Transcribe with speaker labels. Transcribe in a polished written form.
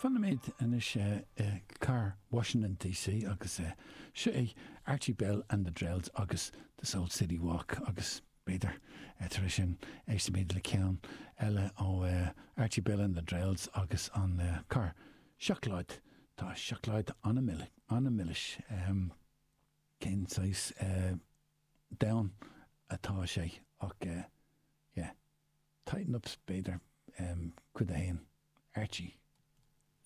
Speaker 1: Fanfaimid anois i gcathair Washington DC agus seo é Archie Bell and the Drells agus This Old City Walk agus b'fhéidir tar éis sin éistfimid le ceann eile ó Archie Bell and the Drells agus an carr seacláid. Tá seacláid an-milis. Cén saghas domhan atá sé ach yeah. Tighten Up b'fhéidir, cuid a haon, Archie.